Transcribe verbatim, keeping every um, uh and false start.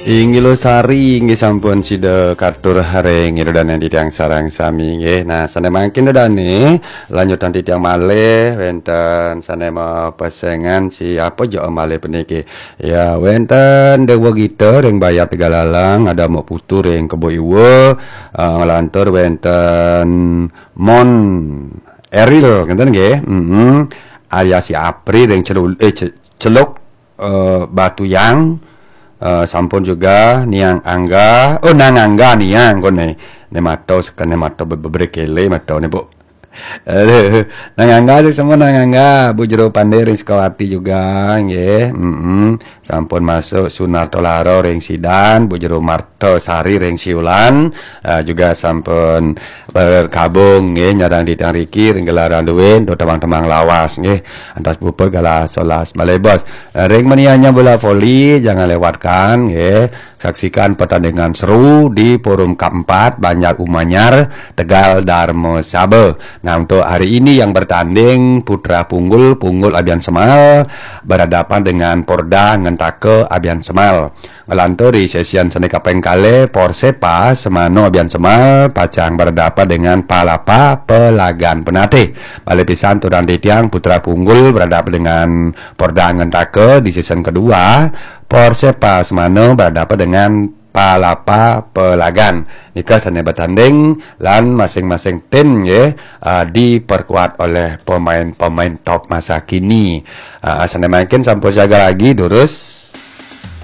Inggih Luh Sari, inggih sampun sida katur ring ida dane titiang sareng sami, nggih. Nah, sane mangkin ida dane lanjutang titiang malih wenten sane mapesengan si apa ja malih puniki. Ya, wenten Dewa Gita ring Bayat Tegalalang, ada Mok Putu ring Kebo Iwa, eh, nglantur wenten Mon Eril, ngenten nggih. Mm-mm. Arya si Apri ring Celul-, eh, Ce-, Celuk, eh, Batuyang, eh, sampun juga Niang Angga, oh, Nang Angga Niang kone. Ne mato sekene mato be-, bebre kele mato ne, Bu. Aduh, Nang Angga sih semua Nang Angga, Bu Jero Pande ring Sukawati juga, nggih. Mm-mm. Sampun masuk Sunarto Laro ring Sidan, Bu Jero Marto Sari ring Siulan, eh, juga sampun bergabung, nggih, nyarang titiang riki ring gelaran duin, do temang-temang lawas, nggih. Antas puput galah solas malebos. Eh, ring menianya bola voli, jangan lewatkan, nggih. Saksikan pertandingan seru di Forum K empat Banjar Umanyar, Tegal, Darmasaba. Nah, untuk hari ini yang bertanding Putra Punggul, Punggul Abian Semal, berhadapan dengan Porda Ngentaka Abian Semal. Ngelantur di sesi sane kaping kalih, Porsepa Semano Abian Semal pacang berhadapan dengan Palapa Pelagan Penatih. Malih pisan aturang titiang, Putra Punggul berhadapan dengan Porda Ngentaka di sesi kedua, Porsepa Semano berhadapan dengan Palapa Pelagan. Nika sane bertanding lan masing-masing tim, nggih, ah, diperkuat oleh pemain-pemain top masa kini. Ah, sane mangkin sampun siaga lagi, durus